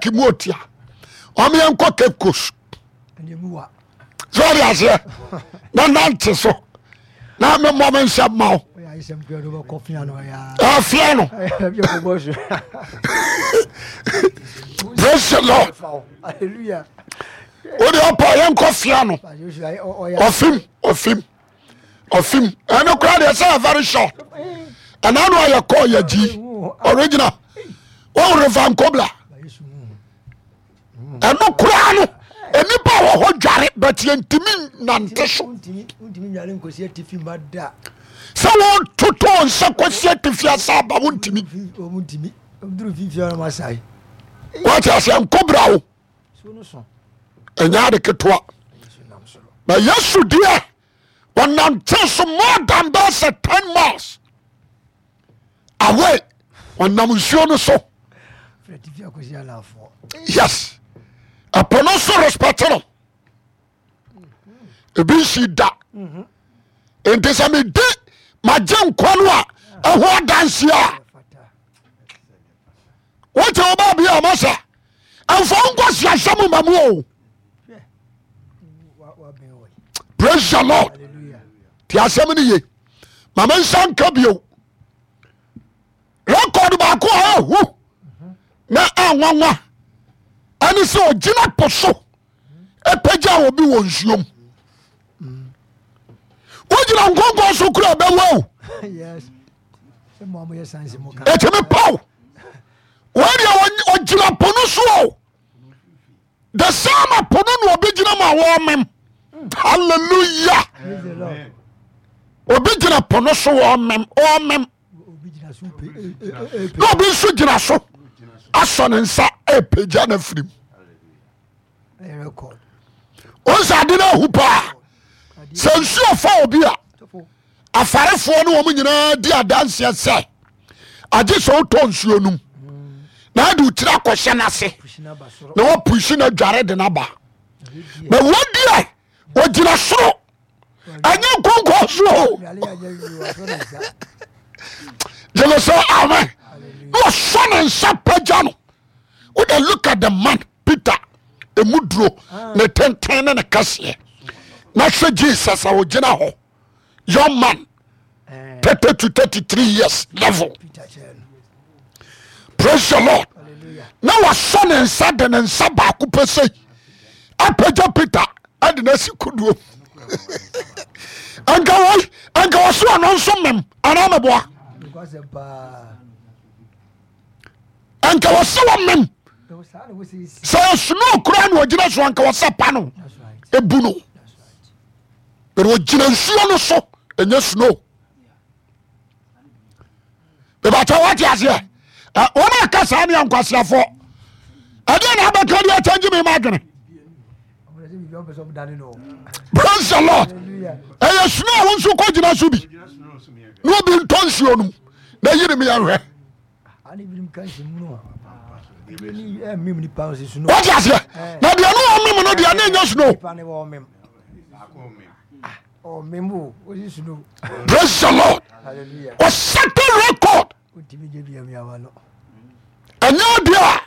Lake mu otia ɔmo yɛn kɔ Cape Coast sɛ ɔde aseɛ na nante so na memmɔ me nsɛm ma wo afia no. Praise the Lord. Wode ɔpa yɛnkɔ fia no ɔfim ɔfim ɔfim ɛno koraa deɛ sɛ very short ɛna no ayɛ kɔɔ yɛ gyi original wɔn refa nkobla ɛno koraa no nnipa wɔ hɔ dware but yɛntumi nante so sɛ wɔtotɔ nsa kɔsi atifi asa aba wontumi wate aseɛ nkobra wo ɛnyɛ ade ketewa na yesu deɛ ɔnante so more than bɛɛ sɛ 10 miles away ɔnam nsuo no so yes ɛpo no nso respect no ebi nsi da nti sɛ medi magye nkwa no a ɛho adanseɛ a wote wo baabi a masa ɛmfa wo nkɔsiasɛm ma mu o praise the lord ti asɛm no ye ma me nsa nka bio record baako a ɛhu na anwanwa ɛne sɛ ɔgyina po so ɛpagya obi wɔ nsuom wogyina nkonkɔn so kura bɛwa o ɛtumi paw wei deɛ ɔgyina po no so o the same po no na obi gyina mu a wɔmem hallelujah obi gyina po no so wɔmem ɔmem na obi nso gyina so asɔ ne nsa ɛpagya no afirim ɔnsɛ ade no ahu paa sɛ nsuo fa obi a afarefoɔ ne wɔn nyinaa di adanseɛ sɛ agye sɛ wotɔ nsuo nom na ade wotiri akɔhyɛ no ase na wapusi no adware de no aba na wadiɛ ɔgyina soro ɛnyɛ nkonkɔ so o gyeme sɛ amen na ɔsɔ ne nsa pagya no wode look at the man Peter emu duro ne tenten ne ne kɛseɛ na hwɛ Jesus a ɔgyina hɔ young man 30 to 33 years level praise the lord na wasɔ ne nsa de ne nsa baako pɛ sei apagya Peter ɛde no asi kodoɔ anka wei anka wɔso ɔno nso mem anaa meboa anka wɔsɛ wɔmem sɛ snow koraa na ɔgyina so anka wɔsɛ pa no ebu no but ɔgyina nsuo no so ɛnyɛ snow bɛbɛkyɛ wate aseɛ wɔn a ka saa ne ankwaseafoɔ ɛdeɛ na abɛka deɛ akyɛngye me ma adwene praise the lord ɛyɛ snow a wo nso kɔ gyina so bi na obi ntɔ nsuo no mu na yiri mi yɛnhwɛ wate aseɛ na deɛ ne ɔmem no deɛ ne ɛnyɛ snow praise the lord ɔsɛte record ɛnyɛ adeɛ a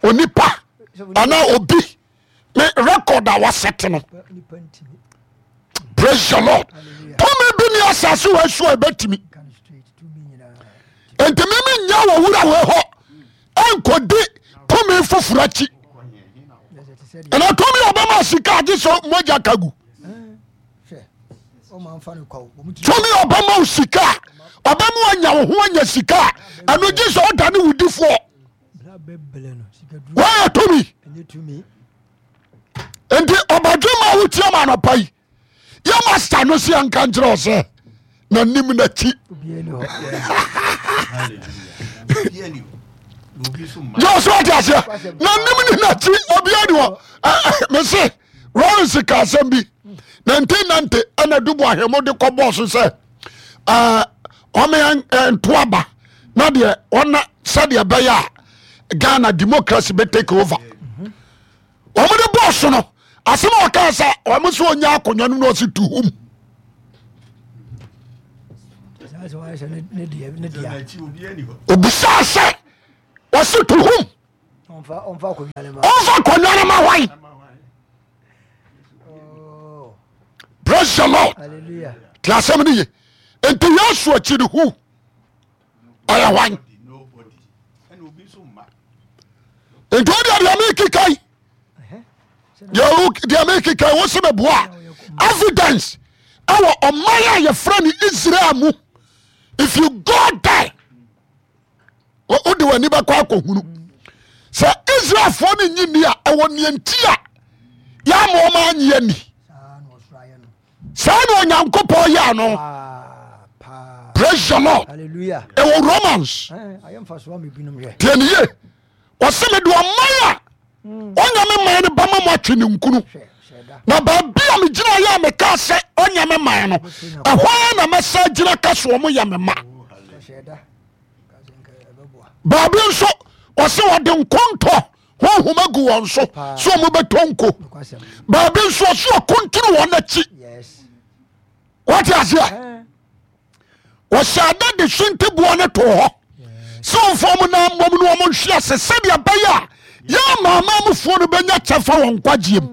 onipa anaa obi ne record a wasɛte no praise the lord tumi bi ne asase wɔ asu a ɛbɛtumi nti meme nya wɔ wura wɔ hɔ ɛnkɔdi tumi foforɔ akyi ɛna tumi a ɔbɛma sika agye sɛ mogya ka gu tumi a ɔbɛma wo sika a ɔbɛma anya wo ho anya sika a ɛno gye sɛ ɔda ne wodifoɔ wɔyɛ tumi nti ɔbadwe ma wotia ma anɔpa yi yɛ master no sɛ yɛnka nkyerɛ ɔ sɛ nanim nakyi yɛ sɛ ɔte aseɛ nanim ne nakyi obia ni hɔ mese Lawrence ka asɛm bi 1990 ɛna dubu ahwɛmo de kɔ bɔɔ so sɛ ɔmo nto aba na deɛ ɔna sɛdeɛ ɛbɛyɛ a Ghana democracy bɛ take over wɔn de bɔɔ so no asɛm a ɔka sɛ wɔn sɛ ɔnya akonnwa no na ɔsi to home. Obisaa sɛ ɔsi to home. Ɔmfa akonnwa no ma hwan? Oh. Praise the Lord. Te asɛm no ye. Nti Yesu akyi no who? Ɔyɛ hwan? Nti wodeɛ deɛ mekeka yi deɛ mekeka yi wo se meboa evidence ɛwɔ ɔman a yɛfrɛ no Israel mu. If you go there wode w'ani bɛkɔ akɔhunu sɛ Israelfoɔ no nyi nni a ɛwɔ neɛ nti a yɛama ɔma anye ani. Saa na Onyankopɔn yɛ no. Praise the Lord. Ɛwɔ Romans. Tie ne yie. Ɔsɛ mede ɔman a ɔnyɛ me man no bɛma mo atwe ne nkunu. Na baabi a megyina yɛ a mekaa sɛ ɔnyɛ me man no, ɛhɔ ara na mɛsa gyina ka so ɔmo yɛ me ma. Baabi nso ɔsɛ ɔde nkontɔ honhom agu wɔn so sɛ ɔmo bɛtɔ nko. Baabi nso ɔsɛ ɔkontene wɔn akyi. Wɔte aseɛ? Wɔhyɛ ada de suntiboɔ no too hɔ sɛ ɔmfa ɔmo nan mmom ne ɔmo nhwe ase sɛdeɛ ɛbɛyɛ a yɛn amanamanmufoɔ no bɛnya kyɛfa wɔ nkwagyeɛ mu.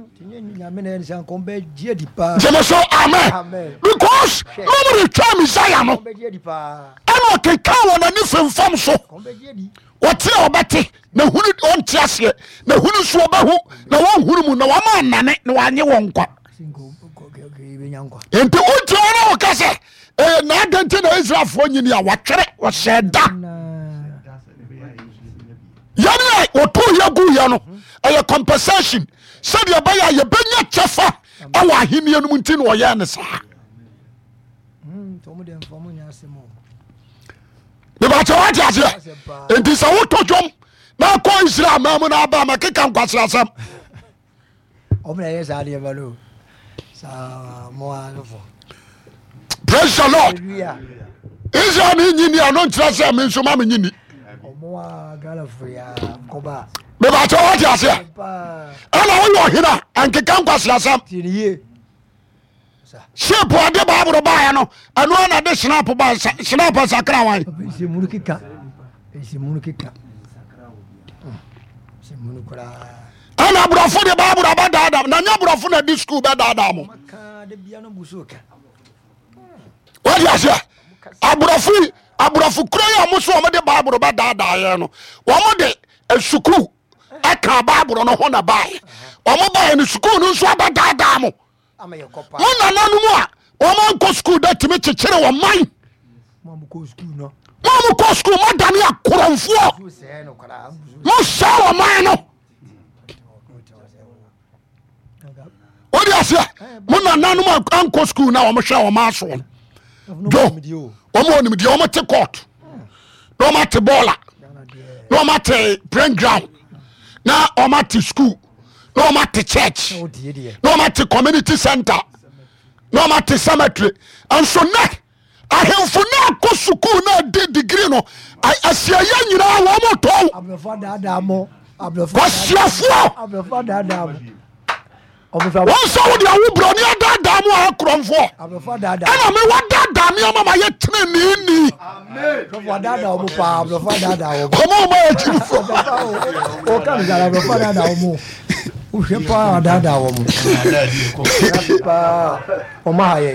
Gyeme so amen. Because na ɔmo retwa Messiah no ɛna ɔkeka wɔn ani femfam so. Wɔte a ɔbɛte na hunu ɔnte aseɛ na hunu nso ɔbɛhu na wɔnhunu mu na wɔama anane na wɔanye wɔn nkwa. Nti wonti wɔn a wɔka sɛ ɛyɛ na adɛn nti na Israelfoɔ nyini a wɔatwerɛ wɔhyɛ da yɛne a wɔtoo yɛ gu yɛ no ɛyɛ compensation sɛdeɛ ɛbɛyɛ a yɛbɛnya kyɛfa ɛwɔ ahenni no mu nti na ɔyɛɛ no saa. Mebakyɛ woate aseɛ? Nti sɛ wotɔ dwom na akɔ Israel ma mu no aba ma keka nkwaseasɛm. Praise the Lord. Israel ne nyi ni ano nkyerɛ sɛ me nso ma me nyi ni. Mebakyɛ woate aseɛ? Ɛna woyɛ ɔhene a ɛnkeka nkwaseasɛm. Ship ɔde baaburo baeɛ no ɛno ara na de snap ba snap sakra wan. Ɛna aborɔfo de baaburo aba daadaa na nyɛ aborɔfo na de sukuu bɛ daadaa mo. Wọ́n di aseɛ aborɔfo yi aborɔfo kuro yi a wɔn so wɔn de baaburo bɛ daadaa yɛn no wɔn de sukuu ɛka baaburo no ho na baeɛ wɔn baeɛ no sukuu no nso abɛdaadaa mo. Mo nananom a wɔn ankɔ sukuu da tumi kyekyere wɔn man. Mo a mokɔ sukuu moadane akorɔmfoɔ, mosɛe wɔn man no. Wode aseɛ mo nananom a ankɔ sukuu na wɔhwɛ wɔn asoɔ no do wɔn wɔ nimdeɛ, wɔn te court na wɔn ate bɔɔla na wɔn ate playground na wɔn ate sukuu na wɔn ate church na wɔn ate community center na wɔn ate cemetery. Nso nɛ ahemfo na akɔ sukuu na adi degree no asiayɛ nyinaa wɔn tɔn kwasiafoɔ. Wɔn sɛ wode awo buroni adaadaa mu a akorɔmfoɔ ɛna me wadaadaa me ama ma yɛ teneneeni. Ɔmo ɔmo ayɛ kyimfoɔ. Wohwɛ paa adaadaa wɔn paa wɔn aha yɛ.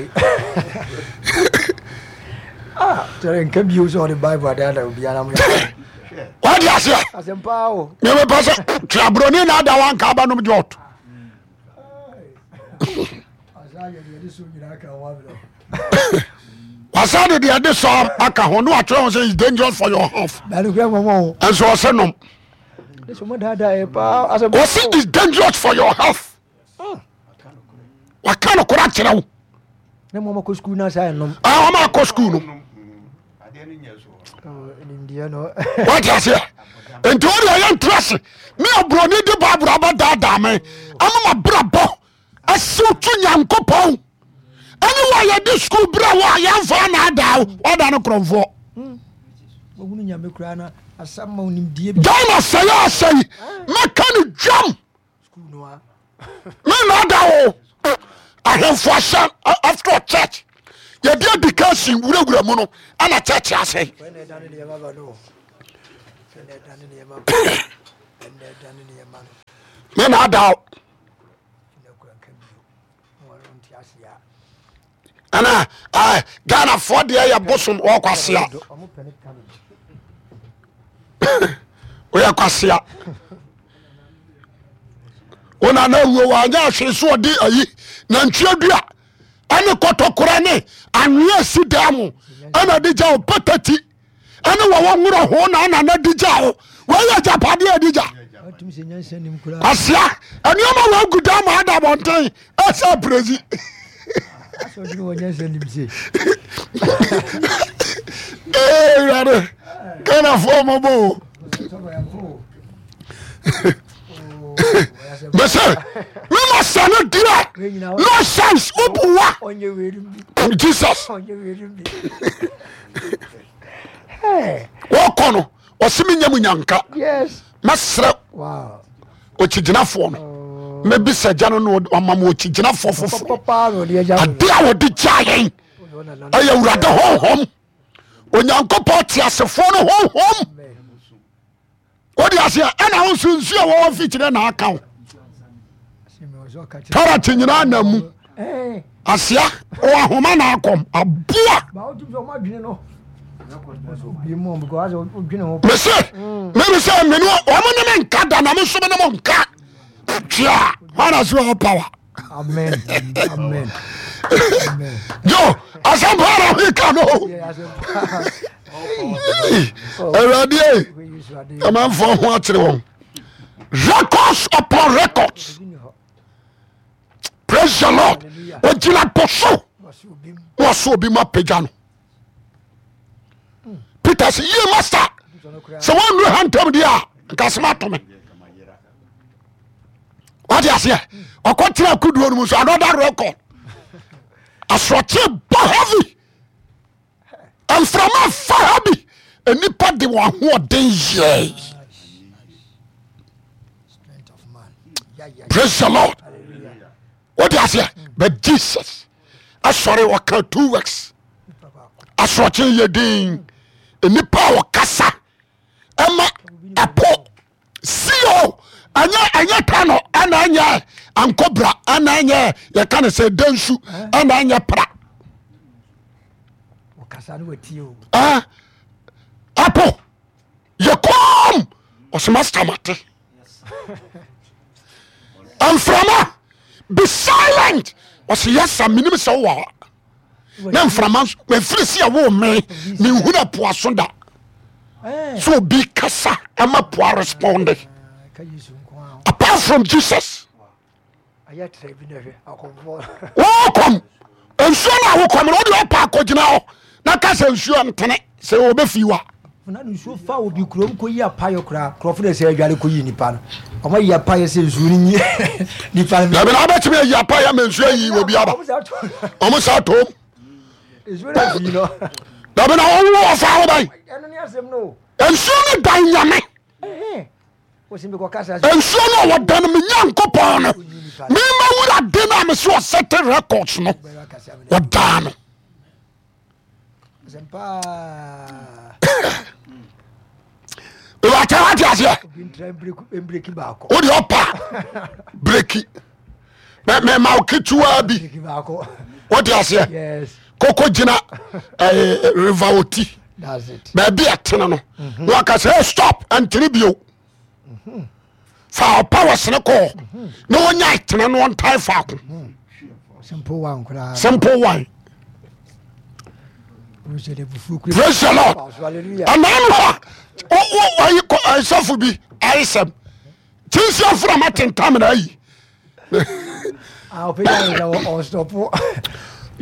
Ah, kyerɛ nka bio sɛ ɔde Bible adaadaa obiara mo yɛ. Wadi aseɛ. Asɛm paa o. Mepɛ sɛ twerɛ na ada wanka abɛnom jɔt. Wasa de deɛ ɛde sɔ aka ho ne watwerɛ ho sɛ is dangerous for your health. Ɛnso ɔsɛ nom. Ɔsɛ is dangerous for your health. Waka no kora kyerɛ wo. Ɔma akɔ sukuu no. Wate aseɛ nti wode ɛyɛ ntra ase me aburoni de bible abɛdaadaa me ama mabrabɔ asiw to Nyankopɔn ɛne wo a yɛde sukuu berɛ wo a yɛmfa anaadaa wo woada no korɔmfoɔ. Ghana sɛe asɛe mɛka no dwam me nada o ahemfo ahyɛ after church yɛde education wurawura mu no ɛna church asɛe. Me na ada o. Ɛna Ghanafoɔ deɛ yɛ bosom wɔ kwasea. Woyɛ kwasea. Wona na awuo wanyɛ ahwee so ɔde ayi nantwie dua ɛne kɔtɔkorɔ ne anwea si dan mu ɛna de gya wo patati ɛne wɔwɔ nworɔ ho na ana na di gya wo wɔyɛ agyapadeɛ adi gya asia nneɛma wɔagu dan mu ada abɔnten ɛsɛ apirezi awurade Ghanafoɔ mɔbɔ o mese mema sɛ no deɛ no sense woboa Jesus wɔkɔ no ɔse menya mu nyanka mɛserɛ ɔkyigyinafoɔ no oh. mɛbisa gya no na ɔma ma ɔkyigyinafoɔ foforɔ ade a wɔde gya yɛn ɛyɛ awurade honhom onyankopɔn teasefoɔ no honhom wode aseɛ ɛna wo nso nsuo a wɔwɔ mfikyerɛ na aka wo tɔrɔt nyinaa na mu aseɛ wɔ ahoma na akɔm aboa mese meme sɛ mene wɔn ne me nka da na me nso me ne mo nka twea hwana so wɔ power Amen. Amen. Yo, asɛmpa na meka no. Awurade amanfoɔ ho akyere wɔn. Records upon records. Praise the Lord. Ogyina po so. Na ɔso obi mu apagya no. Peter sɛ yie master sɛ wɔnnuru ha ntam deɛ a nka asɛm ato me. Wate aseɛ ɔkɔtena kodoɔ no mu nso another record. Asorɔkye bɔ heavy. Mframa fa ha bi nnipa de wɔn ahoɔden yɛe. Praise the Lord. Wode aseɛ but Jesus asɔre ɔka two works asorɔkye yɛ din nnipa a wɔkasa ɛma ɛpo sio ɛnyɛ ɛnyɛ tano ɛna ɛnyɛ ankobra ɛna ɛnyɛ yɛka ne sɛ dansu ɛna ɛnyɛ pra ɛpo yɛ kɔm ɔsɛ master mate mframa be silent ɔsɛ yɛsa menim sɛ wowɔ hɔ na mframa nso mefiri si ɛwo me menhunu ɛpoaso da sɛ obi kasa ɛma poa responde apart from Jesus wɔkɔm nsuo no a wokɔm no wode ɔpa akɔgyina hɔ na ka sɛ nsuo ntene sɛ wɔbɛfii wa na nsuo fa obi kurom kɔyi apayɔ koraa kurɔfo de sɛ adware kɔyi nipa no ɔma yi apayɔ sɛ nsuo no nyi nipa no dabi na wobɛtumi ayi apayɔ ma nsuo ayi obi aba ɔmo sa tom nsuo no afii no dabi na ɔwo ɔfa ho bɛn ɛno ne asɛm no nsuo no dan nyame nsuo no a wɔda no me nyankopɔn no mema wura de no a mese ɔsɛte records no wɔdaa no ìwàtí wàtí aseɛ o de ɔpa breki mɛ ma o ketewa bi o de aseɛ koko gyina ɛɛ eh, river oti baabi ɛtene no mhm. na waka sɛ hey stop ɛntene bio mhm. fa ɔpa wɔ sene kɔɔ mhm. na wɔnya ɛtene no ɔntae faako simple one koraa simple one praise the lord ɛnaa no hɔ a sɔfo bi ayesɛm kyinsi afra ma tentam na ayi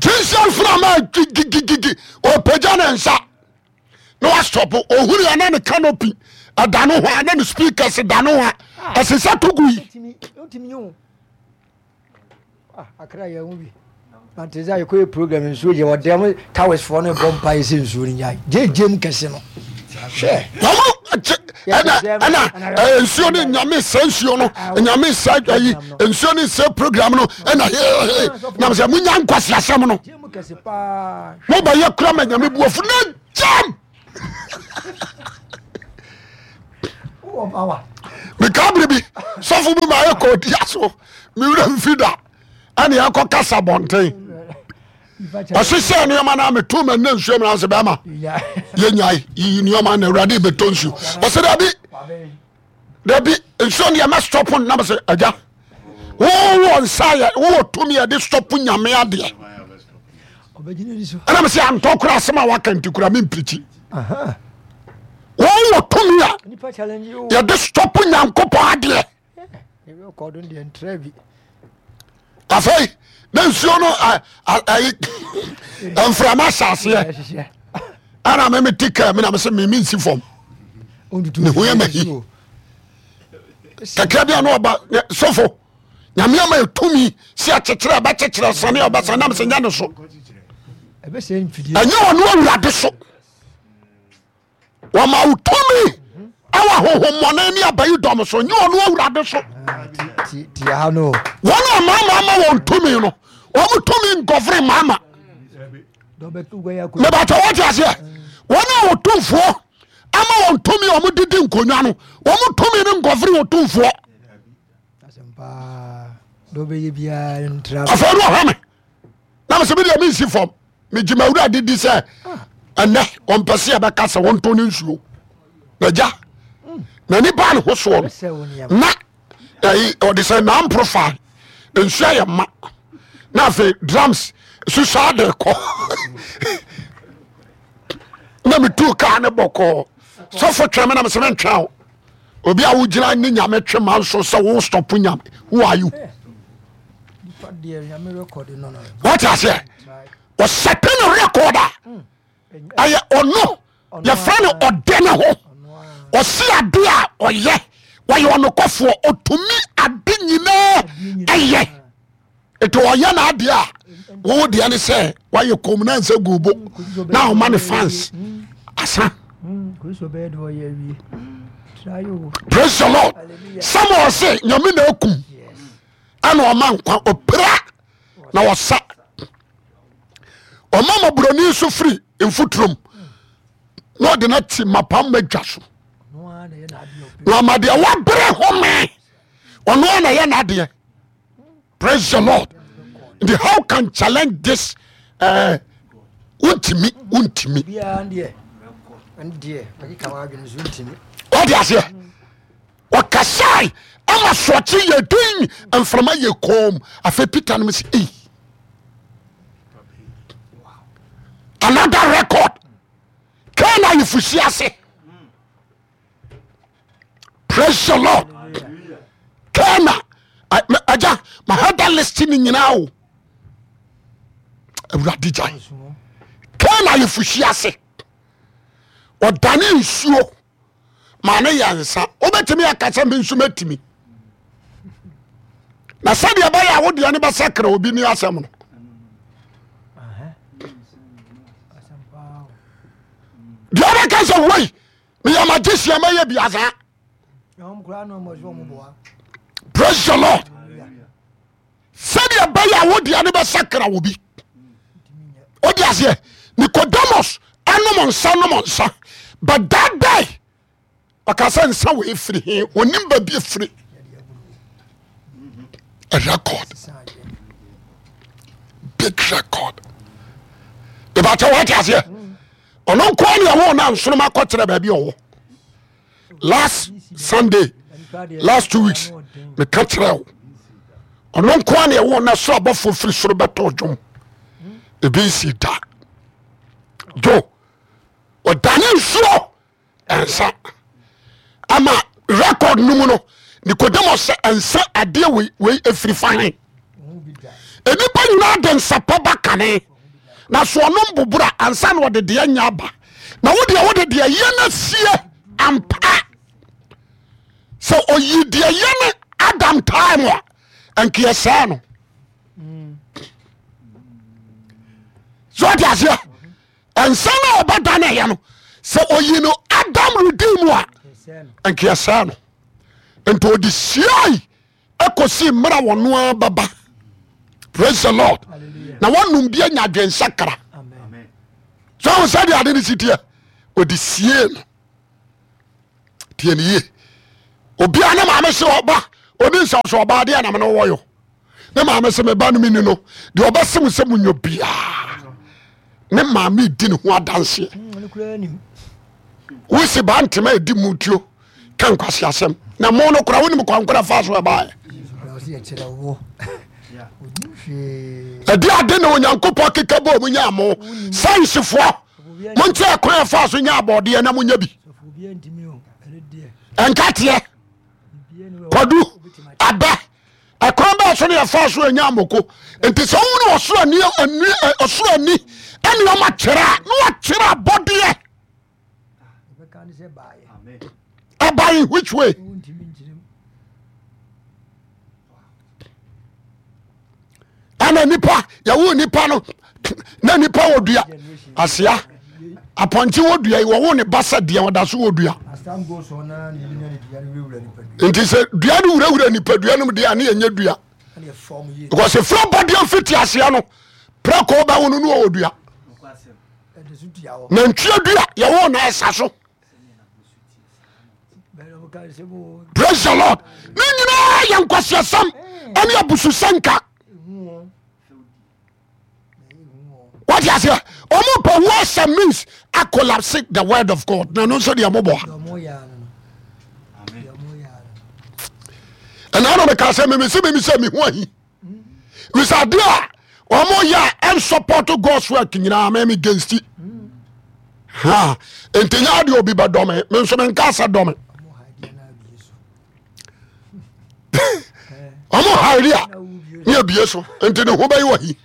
kyinsi afra ma gigigigi ɔpagya ne nsa na wasɔpo ohunu yɛ na ne canopy ɛda no hɔ a na ne speakers da no hɔ a ɛsɛ sɛ to gu yi. Ah, akra yɛn ho bi. Mante sɛ yɛkɔyɛ program nsuo yɛ wɔdɛm mo towers foɔ no bɔ mpa yɛ sɛ nsuo no nyae gyegye mu kɛse no. Hwɛ. Wɔn ɛna ɛna ɛɛ nsuo no nyame sɛ nsuo no nyame sɛ ayi nsuo no sɛ program no ɛna hehehe nam sɛ mo nya nkwasi asɛm no. Mo bɛ yɛ kura ma nyame bu afu na gyam. Meka bere bi sɔfo bi ma yɛ kɔ ɔdi aso mewura mfi da ɛne yɛkɔ kasa bɔnten ɔhyehyɛ nneɛma no a meto ma nna nsuo mena sɛ bɛma yɛnyae yiyi nneɛma na awurade bɛtɔ nsuo ɔsɛ dabi dabi nsuo no yɛmɛ stɔpo nam sɛ agya wowɔ nsa yɛ wowɔ tumi yɛde stɔpo nyame adeɛ ɛnam sɛ antɔ kora asɛm a waka nti kora mempirikyi wowɔ tumi a yɛde stɔpo nyankopɔn adeɛ afei na nsuo no ayi mframa hyɛ aseɛ ɛna me mete kaa mi na mesɛ meme nsi fam ne ho yɛ mahi kakra bi a na ɔba sɔfo nyame ama ɛtumi sɛ akyekyerɛ ɛbɛkyekyerɛ sane a ɔbɛsane nam sɛ nyɛ ne so ɛnyɛ ɔno awurade so wɔma wo tumi ɛwɔ ahohommɔne ne abayi dɔm so nyɛ ɔno awurade so wɔn a maama ama wɔn tumi no wɔn tumi nkɔfere maama mebɛtɛ wɔte aseɛ wɔn a wɔtumfoɔ ama wɔn tumi a wɔn didi nkonnwa no wɔn tumi no nkɔfere wɔtumfoɔ afei no ɔhwɛ me na mesɛ medeɛ mensi fam megye mawurade di sɛ ɛnɛ ɔmpɛ sɛ yɛbɛka sɛ wɔntɔ no nsuo na gya n'ani baa ne ho soɔ no na ɛyi ɔde sɛ nan profile nsuo ayɛ ma na afei drums susaa de kɔ na metuu kaa ne bɔkɔɔ sɔfo twɛn me na mesɛ mentwɛn o obi a wogyina ne nyame twe ma nso sɛ wo stop nyame who are you wate aseɛ ɔsɛte ne record a ɛyɛ ɔno yɛfrɛ no ɔde ne ho ɔse ade a ɔyɛ wɔyɛ ɔnokɔfoɔ ɔtumi ade nyinaa ɛyɛ nti ɔyɛ n'adeɛ a wo deɛ ne sɛ wayɛ kɔm na nsɛ gu bo na ɔma ne fans asa praise the lord samuel se nyame na akum ɛna ɔma nkwa ɔpira na ɔsa ɔma mɔborɔni nso firi mfoturom na ɔde no ati mapam madwa so na ɔma deɛ wabrɛ home ɔno a na yɛ n'adeɛ praise the lord nti how can challenge this eh, wontimi wontimi wode aseɛ ɔkasae ama soɔkye yɛ din mframa yɛ kom afei peter no sɛ ei another record kana ayefusi ase praise the lord kana agya mahada list no nyinaa o awurade gyae kana ayefusi ase ɔdane nsuo ma ne yɛ nsa wobɛtumi aka sɛ me nso mɛtumi na sɛdeɛ ɛbɛyɛ a wodeɛ no bɛsakra obi ne asɛm no deɛ wobɛka sɛ wei meyɛ magyesia mɛyɛ biasaa praise the lord sɛdeɛ ɛbɛyɛ a wodeɛ no bɛsakra wɔ bi wode aseɛ Nicodemus anom nsa nom nsa but that day ɔka sɛ nsa wei firi he onim baabi efiri a record big record ìbàtɛ wate aseɛ ɔno nkoa ne ɛwɔ na nsoroma kɔkyerɛ baabi ɔwɔ last sunday last 2 weeks meka kyerɛ wo ɔno nkoa ne ɛwɔ na soro abɔfoɔ firi soro bɛtɔ dwom ebi nsi da jo ɔdane nsuo ɛnsa ama record no mu no Nicodemus sɛ ɛnsa adeɛ wei wei efiri fa he nnipa nyinaa de nsapɔ ba kane na so ɔnom bobora ansa na ɔde deɛ nya aba na wo deɛ wode deɛ yɛ no sie ampa sɛ ɔyi deɛ yɛ no Adam time a ɛnkeɛ sɛɛ no so ɔte aseɛ ɛnsa no a ɔbɛda no ɛyɛ no sɛ ɔyi no Adam redeem a ɛnkeɛ sɛɛ no nti ɔde siai ɛkɔsi mmerɛ a wɔno ara bɛba praise the lord na wɔnom bi anya adwensakra sɛ wo sɛdeɛ ade no si teɛ ɔde sie no tiɛ ne yie. Obia ne maame se ɔba oni nsa so ɔba adeɛ nam no wɔyɔ ne maame se meba no meni no deɛ ɔbɛse mo sɛ monyɔ biaa ne maame di ne ho adanseɛ wosi ba ntoma ɛdi mu tuo ka nkwasi asɛm na mo no kora wonim kwankora fa so ɛbaɛ ɛde ade na Onyankopɔn keka bɔ mu nya mo sayansifoɔ monkyerɛ kwan ɛfa so nya abɔdeɛ na monya bi ɛnkateɛ kwadu abɛ ɛkwan bɛɛ so ne yɛfa so anya amoko nti sɛ wohunu ɔsoro ani ɔsoro ani ɛne ɔma kyerɛ a na wakyerɛ abɔdeɛ ɛba in which way ɛna nipa yɛwo nipa no na nipa wɔ dua asea apɔnkye wɔ dua yi wɔwo ne ba sɛ deɛ ɔda so wɔ dua nti sɛ dua no wurawura nipadua no mu deɛ a ne yɛnyɛ dua because efura bɔdeɛ mfiti aseɛ no prɛko bɛwo no ne ɔwɔ dua nantwie dua yɛwo na ɛsa so praise the lord ne nyinaa yɛ nkwaseasɛm ɛne abususɛnka wate aseɛ ɔmo pɛ words and means a collapse the word of God na ɛno nso deɛ moboa ɛna na meka sɛ memese meme sɛ meho ahi wisa adeɛ a wɔn yɛ a ɛnsɔpɔto God's work nyinaa mɛmi against it ha nti nyɛ adeɛ obi bɛ dɔme me nso me nka sɛ dɔme wɔn hairi a ne abie so nti ne ho bɛyɛ wɔ hi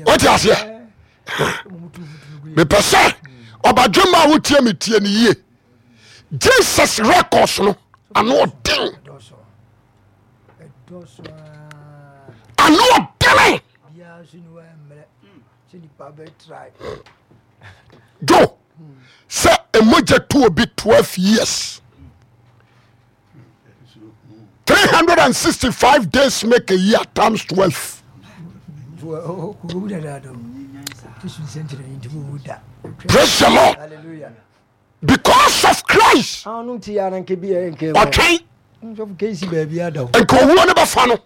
wote aseɛ mepɛ sɛ ɔbadwemma a wotie me tie ne yie Jesus records no ano ɔden ano ɔdene jo sɛ mogya tu obi 12 years 365 days make a year times 12 praise the lord because of Christ ɔtwɛn nka owuo no bɛfa no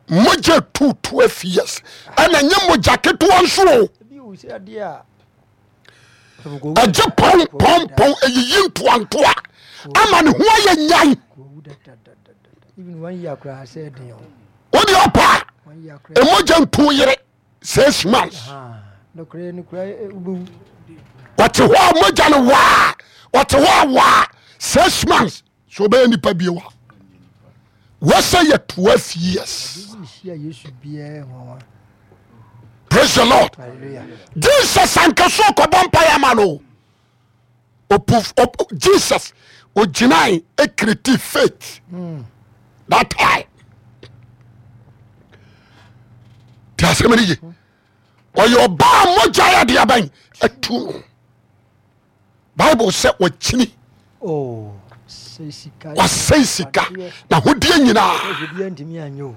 mogya tu 12 years ɛna nyɛ mogya ketewa nso o ɛgye pɔn pɔn pɔn ɛyiyi ntoantoa ama ne ho ayɛ nyan wode ɔpa a ɛmogya ntu yere 6 months ɔte hɔ a mogya no waa ɔte hɔ a waa 6 months so ɔbɛyɛ nipa bio a wɔsɛ yɛ 12 years praise the lord jesus anka so ɔkɔbɔ mpaeɛ ama no jesus ogyinae ekreti faith that time ti asɛm no ye ɔyɛ ɔbaa mogya yɛ deɛ bɛn atu no bible sɛ wakyini oh, wasɛe sika na hodeɛ nyinaa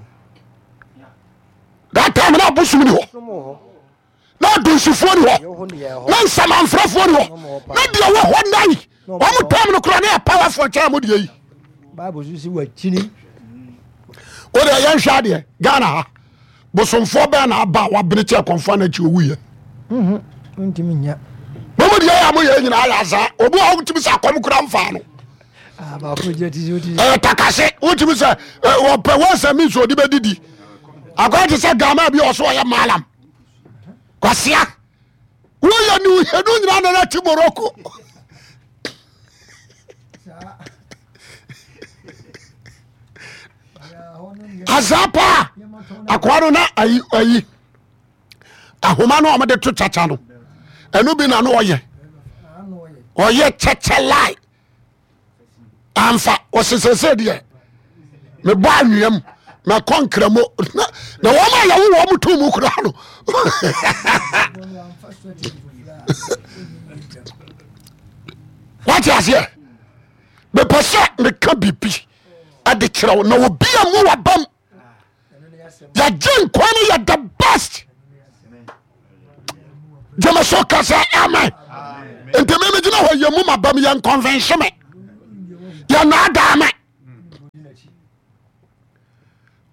that time na abosom ni hɔ na adunsifoɔ ni hɔ na nsamanfrɛfoɔ ni hɔ na deɛ wɔ hɔ nan wɔn tam no kora ne yɛ powerful kyɛn mo deɛ yi. O deɛ yɛn hwɛ adeɛ Ghana ha bosomfoɔ bɛn na aba a wabene kyɛ kɔnfoɔ na akyi owu yɛ. Mhm, mo mu deɛ yɛ a mo yɛ nyinaa yɛ azaa obi a wotumi sɛ akɔm kura nfa no. Ah, ɛyɛ takase wotumi sɛ wɔpɛ wɔn sɛ mi nso ɔde bɛ didi akɔyɛ te sɛ Ghana bi ɔso ɔyɛ malam. Kwasia woyɛ ne wohɛnu nyina nana te Morocco azaa paa akoa no na ayi ayi ahoma no a wɔde to kyakya no ɛno bi na no ɔyɛ ɔyɛ kyakya lie amfa ɔse sɛsɛ deɛ mebɔ anwea mu mɛkɔ nkramo na wɔn a yɛwo wɔn to mu koraa no wate aseɛ mepɛ sɛ meka biribi ɛde kyerɛ wo na obi a mu wabam yɛgye nkwa no yɛ the best gyeme so ka sɛ amen nti me megyina hɔ yɛ mu mabam yɛ nkɔnvɛnhye me. Yɛnaadaa me.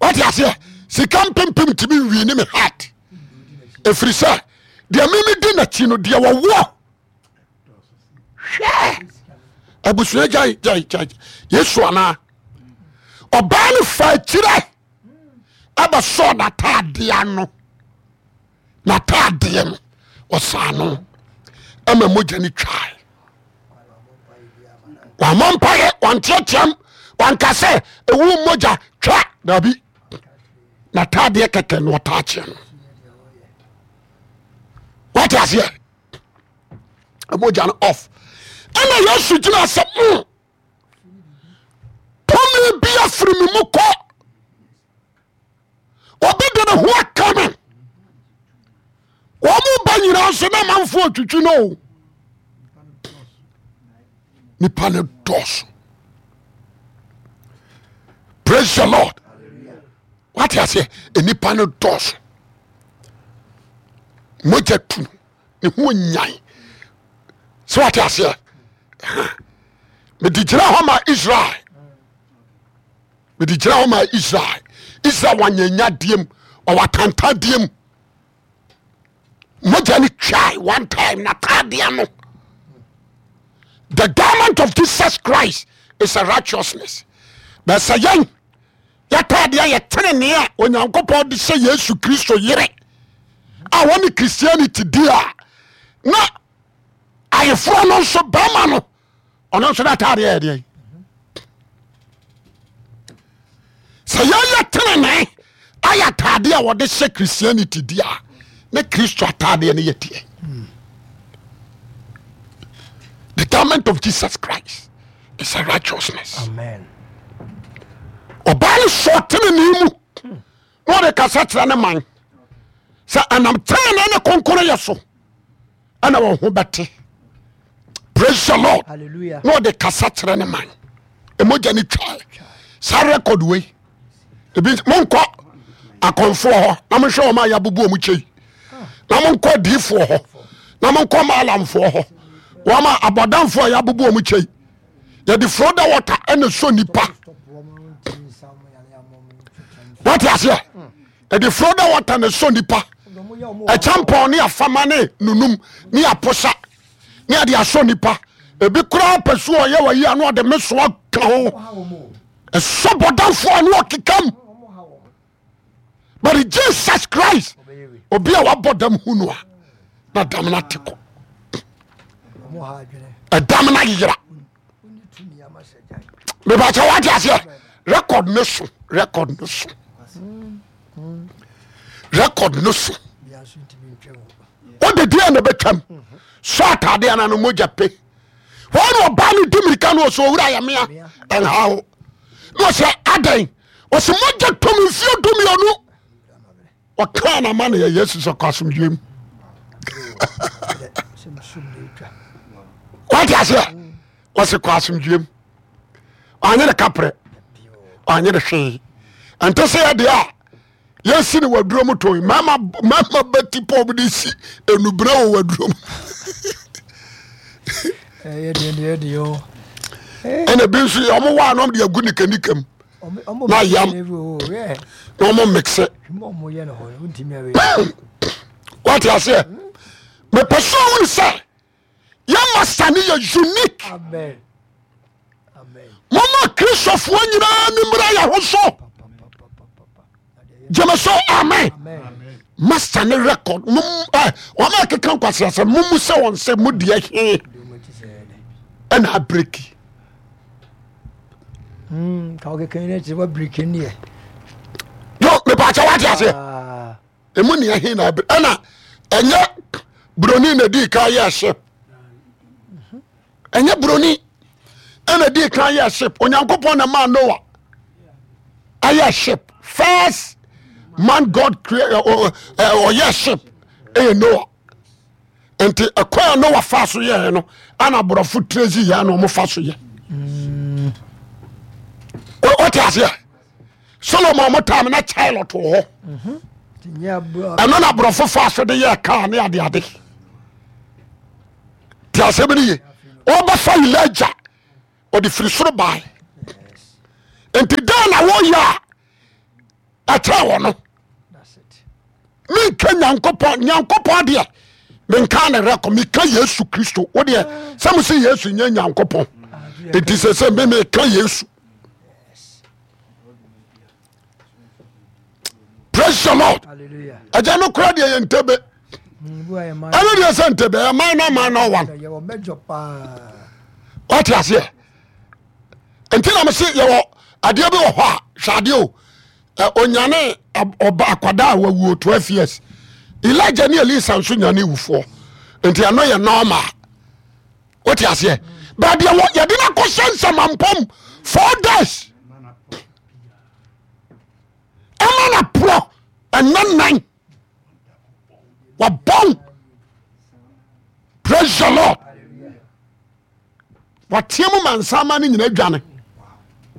Wate aseɛ? Sika mpempem ntumi nwi ne me heart. Ɛfiri sɛ deɛ meme di n'akyi no deɛ wɔwoɔ hwɛ abusua gyae gyae gyae Yesu anaa ɔbaa no fa akyirɛ ɛbɛsɔɔ n'ataadeɛ ano n'ataadeɛ no ɔsaa no ɛma mogya no twae wamɔ mpaeɛ wanteateam wanka sɛ ɛwu mogya twa daabi n'ataadeɛ kɛkɛ na ɔtaa kyeɛ no wate aseɛ mogya no off ɛna Yesu gyina sɛ mm, tumi bi afiri me mu kɔ obi de ne ho aka me wɔn mu ba nyinaa nso na amanfoɔ twitwi no o nipa no dɔɔso praise the lord wate aseɛ nipa no dɔɔso mogya tu ne ho nyan sɛ wate aseɛ mede gyina hɔ ma Israel mede gyina hɔ ma Israel Israel wanyanya deɛm ɔwɔ atanta deɛm mogya no twae one time nataadeɛ no the garment of Jesus Christ is a righteousness but sɛ yɛn yɛtaadeɛ yɛ tenenee a Onyankopɔn de hyɛ Yesu Kristo yere a wɔne Christianity di a na ayeforɔ no nso bɛrima no ɔno nso n'ataadeɛ yɛ deɛ sɛ yɛyɛ tenenee ayɛ ataadeɛ a wɔde hyɛ Christianity di a ne Kristo ataadeɛ no yɛ deɛ the garment of Jesus Christ is a righteousness. Amen. Ɔbaa no sɔ tenenee mu na ɔde kasa kyerɛ ne man sɛ ɛnam tenenee ne kronkron yɛ so ɛna wɔn ho bɛte. Praise the Lord. Hallelujah. Na ɔde kasa kyerɛ ne man. Emogya ne twa saa record wei ebi monkɔ akɔnfoɔ hɔ na monhwɛ wɔn a yɛabubu wɔn kyɛ yi na monkɔ adiifoɔ hɔ na monkɔ maalamfoɔ hɔ wɔn a abɔdamfoɔ a yɛabubu wɔn kyɛ yi yɛde froda water ɛna sɔ nipa wate aseɛ yɛde froda water na sɔ nipa ɛkyɛmpɔn ne afama ne nunum ne aposa ne yɛde asɔ nipa ebi koraa pɛ so ɔyɛ wɔ yi ano ɔde mesoa ka ho ɛsɔ bɔdamfoɔ ano ɔkekam but Jesus Christ obi a wabɔ dam hu no a na dam no ate kɔ ɛdam no ayera mebakyɛ wate aseɛ record no so record no so record no so wode deɛ na bɛtwam sɔ ataadeɛ no no mogya pe wɔn na ɔbaa no di mirika no ɔsɛ owura yɛ mea ɛnha wo na ɔsɛ adɛn ɔsɛ mogya tɔm mfie dumienu ɔkaa na ma no yɛ yesu sɛ kɔ asomdwoe mu wate aseɛ ɔsɛ kɔ asomdwoe mu ɔanye ne kaprɛ ɔanye ne hwee ɛnte sɛ yɛdeɛ a yɛsi ne waduro mu tɔn mmarima mmarima bɛti pɔm de si enubere wɔ waduro mu. Ɛna ebi nso yɛ ɔmo waa na ɔmo de agu nikanika mu na yam na ɔmo mixe. Wate aseɛ mepɛ sɛ ɔmo sɛ yɛ masa no yɛ unique. Moma kristofoɔ nyinaa ni mmra yɛ ho so. Gyeme so amen. Master ne record mom ɛ wɔn a ɛkeka nkwaseasɛm mo mu sɛ wɔn sɛ mo deɛ he ɛna abreki. Yo mepaakyɛ wate aseɛ emu nea he na abere ɛna ɛnyɛ buroni na di kan yɛ ship ɛnyɛ buroni ɛna di kan yɛ ship Onyankopɔn na maa Noah ayɛ ship first man God create ɔyɛ ship ɛyɛ Noah nti ɛkwan a Noah fa so yɛɛ no ɛna aborɔfo tirezi yɛ na wɔn fa so yɛ ɔte aseɛ Solomon mo time na chariot wɔ hɔ ɛno na aborɔfo fa so de yɛ kaa ne adeade te asɛm no ye ɔbɛfa Elijah. Ɔde firi soro bae. Nti dɛn na woyɛ a ɛkyerɛ wɔ no? Menka Nyankopɔn, Nyankopɔn deɛ menka ne rɛkɔ, meka Yesu Kristo. Wo deɛ sɛ mo sɛ Yesu nyɛ Nyankopɔn, nti sɛ sɛ me meka Yesu. Praise the Lord. Ɛgya no kora deɛ yɛ ntɛbɛ. Ɛno deɛ sɛ ntɛbɛ ɛyɛ minor minor one. Wate aseɛ? Nti na mese yɛwɔ adeɛ bi wɔ hɔ a hwɛ adeɛ o onyane ɔba akwadaa a wawuo 12 years Elijah ne Elisa nso nyane wufoɔ nti ɛno yɛ normal wote aseɛ but deɛ yɛde no akɔhyɛ nsamampɔm 4 days ɛma na porɔ ɛnɛ nan wabɔn praise the Lord wateɛ mu ma nsama no nyina dwane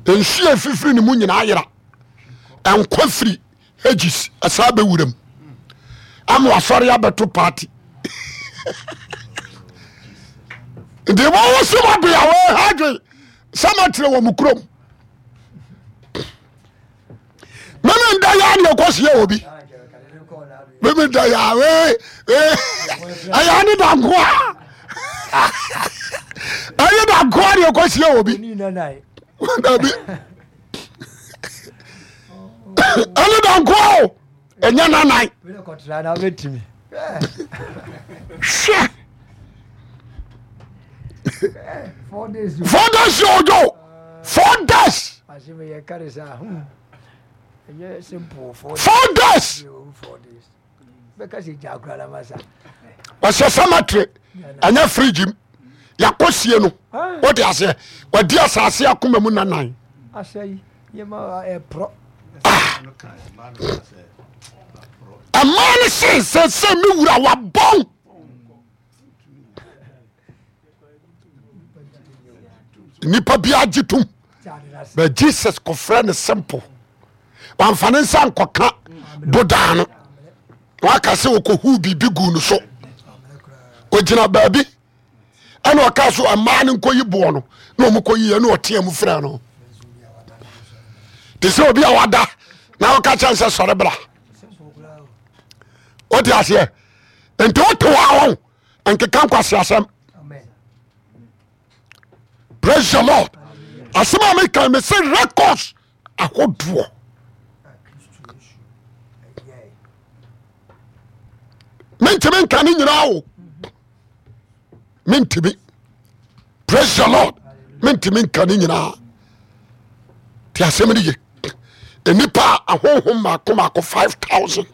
nsuo efifiri ne mu nyinaa yera nkwa firi hegis ɛsaa bɛwura mu ama wasɔre abɛto party nti wɔwɔ sɛ wɔbea wɔha adwen sɛ matrɛ wɔ mo kurom meme nda yaa ne ɛkɔ seɛ wɔ bi meme nda yaa ɛyɛ ne da nkoa ɛyɛ da nkoa ne ɛkɔ seɛ wɔ bi dabi ɛne da nkoa o ɛnyɛ nanan hwɛ 4 days yɛ ɔdwo 4 days 4 days ɔhyɛ cemetery ɛnyɛ fridge mu yɛakɔ sie no wote aseɛ wadi asase akoma mu nanan ɛmaa no se sɛ sɛ me wura wabɔn nipa biara gye tom but jesus kɔfrɛ no simple wamfa ne nsa nkɔka bodaa no waka sɛ ɔkɔhuu biribi gu no so ɔgyina baabi ɛna ɔka so mmaa no nkɔyi boɔ no na ɔmo kɔyi ɛna ɔteɛ mu frɛ no te sɛ obi a wada na ɔka kyɛn sɛ sɔre bra wote aseɛ nti wote hɔ a wɔn nkeka nkwasi asɛm praise the lord asɛm a meka me se records ahodoɔ mentumi nka ne nyinaa o mentumi praise the lord mentumi nka ne nyinaa te asɛm no ye nnipa a ahonhom maako maako 5000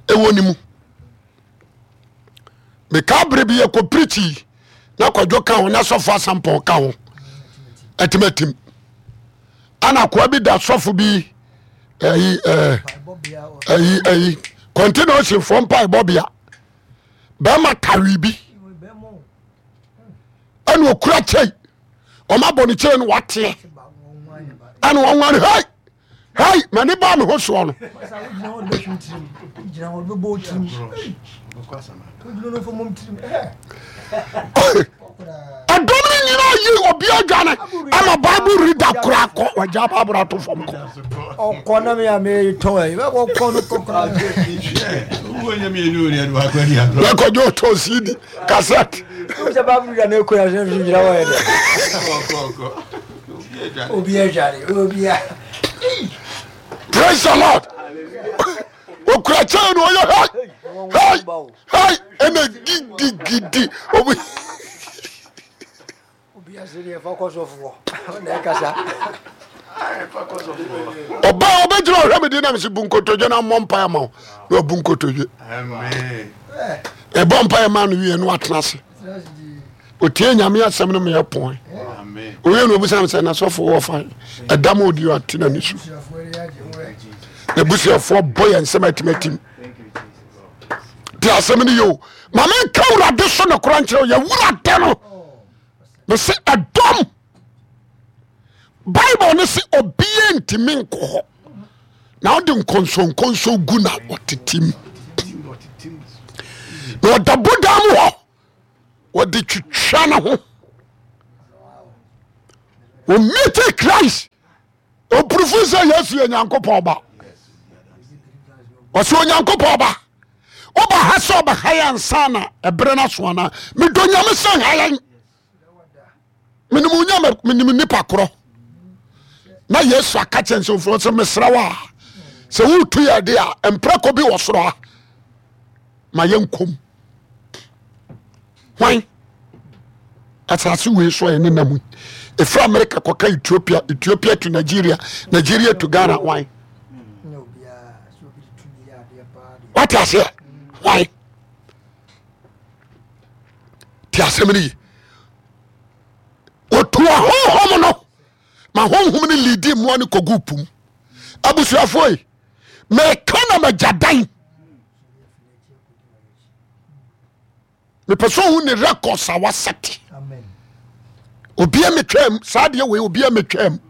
ɛwɔ ne mu meka bere bi yɛkɔ pirikyi na kwadwo ka ho na sɔfo asampɔn ka ho atimatim ana akoa bi da sɔfo bi ɛyi ɛɛ ɛyi ɛyi kɔntena ɔsinfoɔ mpaebɔ bea bɛrima tawi bi ɛna okura kyɛn wɔn abɔ ne kyɛn no wateɛ ɛna wɔn wɔn hei hei mani ba mi ho soɔ no. Ɛdɔm no nyinaa yi obi adwane ama bible reader koraa kɔ wagya bible ato fam kɔ. Ɔkɔ na mi a mi tɔn ɛ ɔkɔ no kɔ koraa. Bɛkɔdwo ɔtɔ cd cassette. Sɛ bible reader na ekura sɛ fi gyina hɔ yɛ dɛ. Obi adwane obi a. Praise the Lord. Okura kyɛn no ɔyɛ hei hei hei ɛna gidigidi obi. Ɔbaa ɔbɛgyina ɔhwɛ me di nam sɛ bu nkotodwe na mmɔ mpaeɛ ma wo na wabu nkotodwe ɛbɔ mpaeɛ ma no wie no atena ase ɔtie nyame asɛm no meyɛ pɔn owie no ɔbusa me sɛ nasɔfo wɔ fa ɛda ma ɔdi ate n'ani so n'abusuafoɔ bɔ yɛn nsɛm atimatim te asɛm no yɛ o ma menka wurade so nokora nkyerɛ yɛ wurade no mese ɛdɔm bible no se obia ntimi nkɔ hɔ na wode nkɔnsɔnkɔnsɔn gu na ɔtetem na ɔda bodan mu hɔ wɔde twitwa ne ho. Ɔmiti Christ ɔpurufu sɛ Yesu yɛ Nyankopɔn ba. Ɔsɛ Onyankopɔn ba. Woba ha sɛ ɔbɛha yɛn ansa na ɛberɛ no aso anaa? Medɔ Nyame sɛ nha yɛn. Menim Onyame, menim nipa korɔ. Na Yesu aka kyerɛ nsɛmfoɔ sɛ mesrɛ wo a sɛ wotu yɛ de a mprako bi wɔ soro a ma yɛnkɔm. Hwan? Asase wei so a yɛne nam ɛfiri Amerika kɔka Ethiopia, Ethiopia to Nigeria, Nigeria to Ghana, hwan? Wate aseɛ? Hwan? Te asɛm no ye. Wɔtu ahonhom no ma honhom no lidi mmoa no kɔgu pum. Abusuafoɔ yi, meka na magya dan. Mepɛ sɛ ohu ne records a wasɛte. Obia metwam saa deɛ wei obia metwam.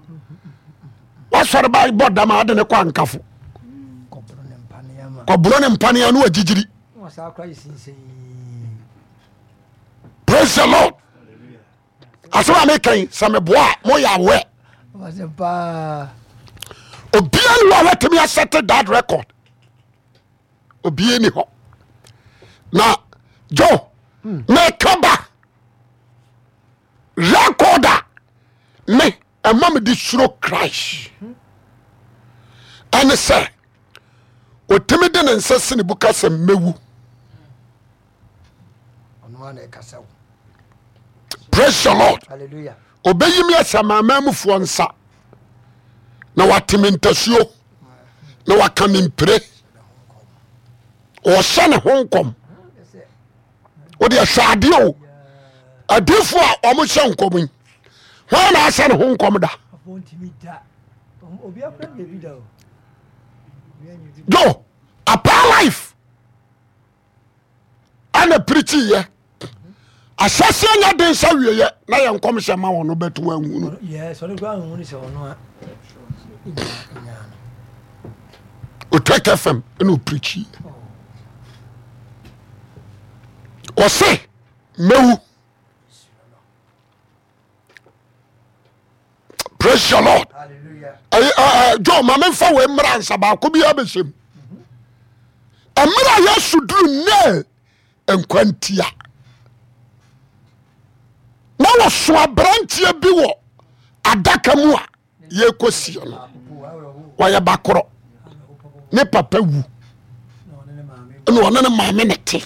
Wasɔre ba bɔ dam a ade ne kɔ ankafo. Kɔboro ne mpaneɛ no agyigyiri. Praise the Lord. Asɛm a meka yi sɛ meboa a moyɛ aware. Obia ne wɔ a watumi asɛte that record. Obia ni hɔ. Na Joe meka ba record a me ɛma mede suro Christ ɛne sɛ ɔtumi de ne nsa si ne bo ka sɛ mɛwu. Praise the Lord. Ɔbɛyi me ahyɛ amanamanmufoɔ nsa na wate me ntasuo na waka me mpire. Ɔhyɛ ne ho nkɔm. Wode ɛhwɛ adeɛ o. Adiifoɔ a wɔhyɛ nkɔm yi hwan na ahyɛ ne ho nkɔm da? Jo apaa life ɛna pirikyi yɛ ahyɛseɛ nya den sɛ wieyɛ na yɛ nkɔm hyɛ ma wɔn no bɛto wɔn ahunu. Otwek FM ɛna opirikyi ɔse mɛwu. Praise the Lord. John ma memfa wei mmra nsa baako biara bɛhyɛ mu. Mmerɛ a Yesu duru Nail nkwantia na wɔso aberanteɛ bi wɔ adaka mu a yɛkɔsie no wɔyɛ bakorɔ ne papa wu ɛna ɔne ne maame ne te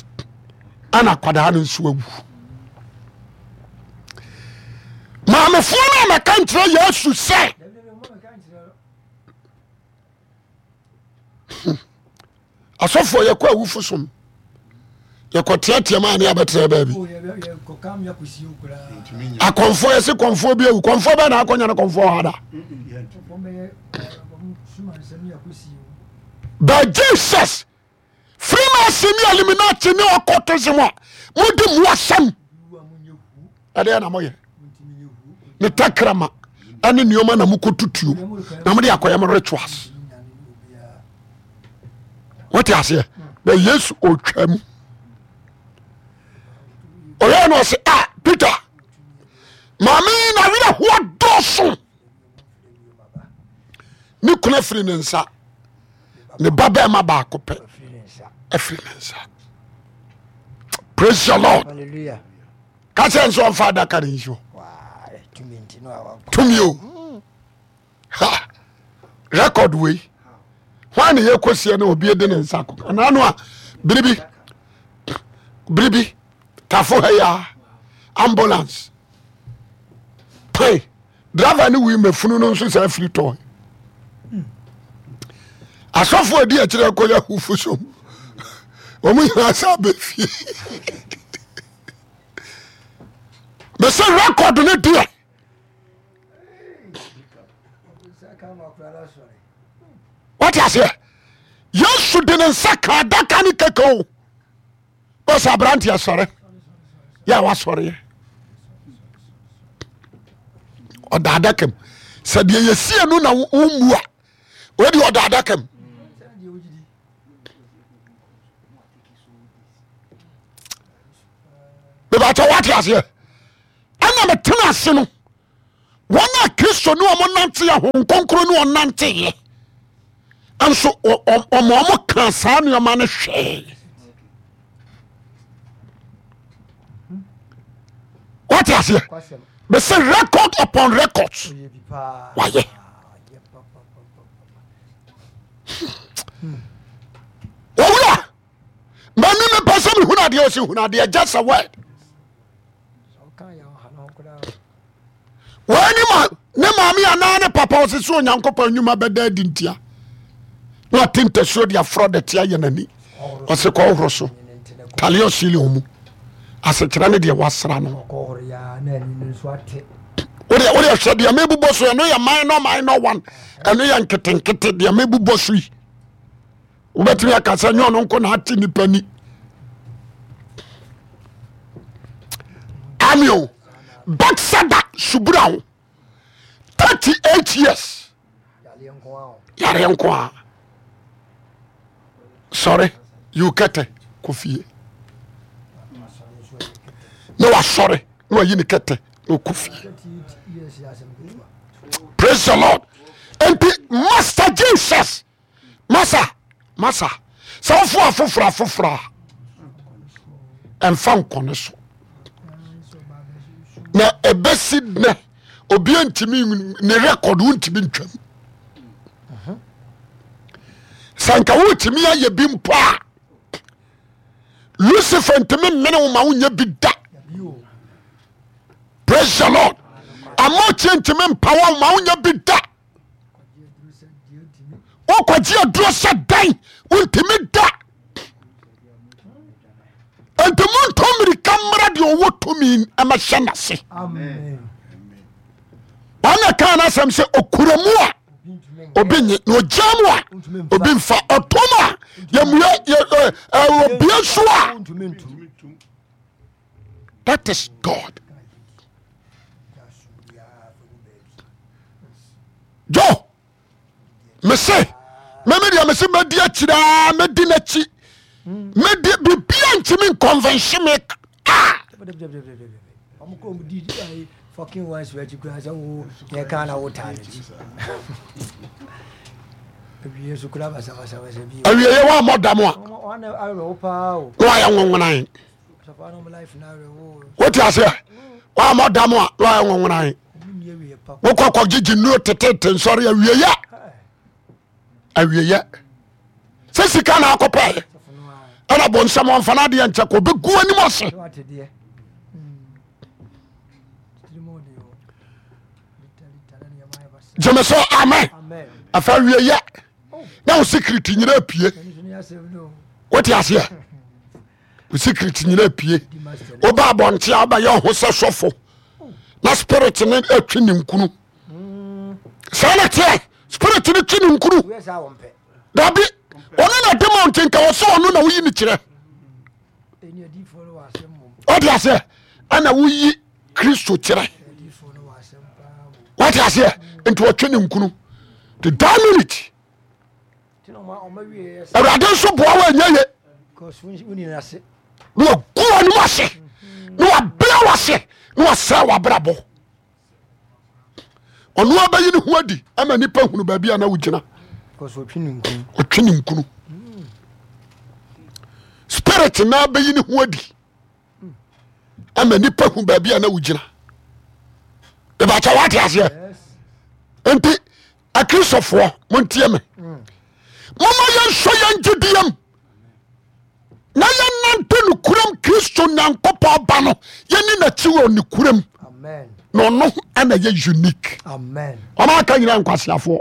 ɛna akwadaa no nso awu maamefoɔ no a mɛka nkyerɛ Yesu sɛ asɔfoɔ yɛkɔ awufo som yɛkɔ teatea mu a ne abɛtena baabi akɔmfoɔ yɛse kɔmfoɔ bi awu kɔmfoɔ bɛɛ na akɔnya no kɔmfoɔ hɔ da but Jesus Freemason ne Illuminati ne occultism a mode mu asɛm ɛdeɛ na moyɛ ne tɛkrɛma ɛne nneɛma na mokɔtutuo na mode akɔyɛ mo rituals wote aseɛ na Yesu ɔtwa mu ɔyɛ no ɔse a ah, Peter maame na werɛ hoɔ dɔɔso ne kunu afiri ne nsa ne ba bɛrima baako pɛ afiri ne nsa praise the lord ka kyerɛ nso ɔmfa adaka ne nsuo tumi o ha record wei hwan ne yɛkɔsie no obi de ne nsa kɔ anaa no a biribi biribi tafo ha ya ambulance pan driver ne wui mafunu no nso saa firi tɔn asɔfo adi akyerɛ kɔyɛ ahufo som wɔn nyinaa sɛ abɛfie mɛsɛ record no deɛ wate aseɛ yesu de ne nsa ka adaka ne kɛkɛ o ɔsɛ aberanteɛ sɔre yɛ a wasɔreɛ ɔda adaka mu sɛ deɛ yɛsie no na wommu a wode ɔda adaka mu mebakyɛ woate aseɛ ɛna metena ase no. Wɔn a Kristo ne wɔn nanteɛ, Honhom Kronkron ne wɔn nanteɛ nso wɔn wɔn ka saa nneɛma no hwɛɛ. Wɔte aseɛ? Bɛsɛ record upon records wayɛ. Owura, mani mepɛ sɛ mehunu adeɛ ɔsɛ hunu adeɛ just a word. Wei ne ma ne maame anaa ne papa ɔsɛ sɛ Onyankopɔn nnwuma bɛda adi ntia na ɔte ntasuo de aforɔ de te ayɛ n'ani ɔsɛ kɔhoro so taleɛ ɔsili mu asekyerɛ ne deɛ wasra no wodeɛ wodeɛ hwɛ deɛ mebobɔ so ɛno yɛ minor minor one ɛno yɛ nketenkete deɛ mebobɔ so yi wobɛtumi aka sɛ nyɛ ɔno nko na ate nipa ni ami o Bethsaida subura ho 38 years yareɛ nko a sɔre yiw kɛtɛ kɔ fie na wasɔre na wayi ne kɛtɛ na ɔkɔ fie praise the lord nti master jesus masa masa sɛ wofo afoforɔ afoforɔ a ɛmfa nkɔne so na ɛbɛsi nɛ obi ntumi ne record wontumi ntwam sɛ nka wotumi ayɛ bi mpo a lucifer ntumi mmene wo ma wonyɛ bi da praise the lord amokyɛ ntumi mpa wo ma wonyɛ bi da wokɔgye aduro sɛ dan wontumi da nti montɔ mmirika mmra deɛ ɔwɔ tumi ɛmɛhyɛ n'ase ɔna kaa no asɛm sɛ ɔkura mu a obi nye na ɔgya mu a obi mfa ɔtom a yɛmue obie so a that is God jo mese meme deɛ mese mɛdi akyiri aa mɛdi n'akyi mɛdi bibia ntumi nkɔnvɛnhye me a awieɛ woammɔ dam a na wayɛ nwonwonan wote aseɛ woammɔ dam a na wayɛ nwonwonan wokɔ kɔgyegye nnuro tetete nsɔre awieyɛ awieyɛ sɛ sika na akɔpɛɛ ɛna bɔnsɛm ɔmfa no adeɛ nkyɛ kɔ ɔbɛgu anim ase gyeme sɛ amen afa awieyɛ na wo secret nyina apue wote aseɛ wo secret nyina apue woba abɔnte a wobɛyɛ ho sɛ sɔfo na spirit no atwi ne nkunu saa na teɛ spirit no twi ne nkunu dabi ɔno na de ma nti nka ɔsɛ ɔno na woyi ne kyerɛ wote aseɛ ɛna woyi kristo kyerɛ wate aseɛ nti ɔtwe ne nkunu the that minute awurade nso boa wo ɛnyɛ ye na wagu anim ase na wabea wase na wasɛe wabrabɔ ɔno abɛyi ne ho adi ama nipa hunu baabi a na wogyina ɔtwe ne nkunu spirit na abɛyi ne ho adi ama nipa hu baabi a na wogyina ìbàkyɛ wate aseɛ nti akristofoɔ montie me moma yɛnsɔ yɛn gyediem na yɛnante nokorɛm kristo nyankopɔn ba no yɛni n'akyi wɔ nokorɛm na ɔno ɛna yɛ unique ɔma aka nyina nkwaseafoɔ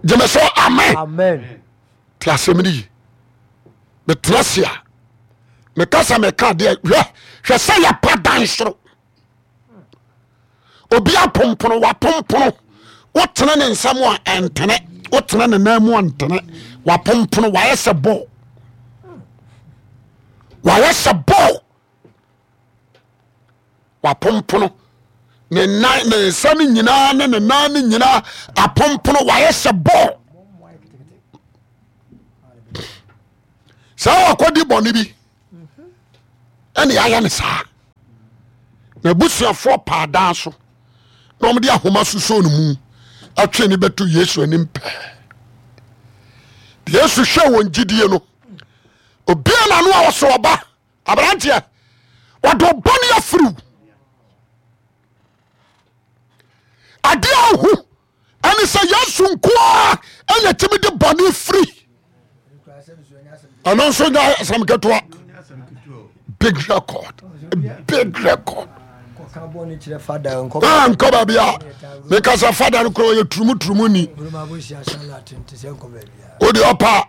gyeme so amen te asɛm no yi metena se a meka sɛ meka adeɛ hwɛ hwɛ sɛ yɛpa dan soro obi apompono wapompono wotene ne nsam a ɛntene wotene ne nan mu a ntene wapompono wayɛ sɛ bɔɔl wayɛ sɛ bɔɔl wapompono ne nan ne nsa no nyinaa ne ne nan no nyinaa apompono wayɛ sɛ bɔɔl saa wakɔdi bɔne bi. Ɛne ayɛ ne saa. Na abusuafoɔ paa dan so na wɔde ahoma susoo no mu atwe ne bɛto Yesu anim pɛɛ. Yesu hwɛ wɔn gyidie no, obia n'ano a ɔsɛ ɔba aberanteɛ wɔde ɔbɔne afiriw adeɛ a ohu ɛne sɛ Yesu nkoa ɛna tumi de bɔne firi. Ɛno nso nyɛ asɛm ketewa. Big record, big record. Ah, nkɔ baabi a meka sɛ fada no korɔ ɔyɛ turumuturumu ni. Wode ɔpa.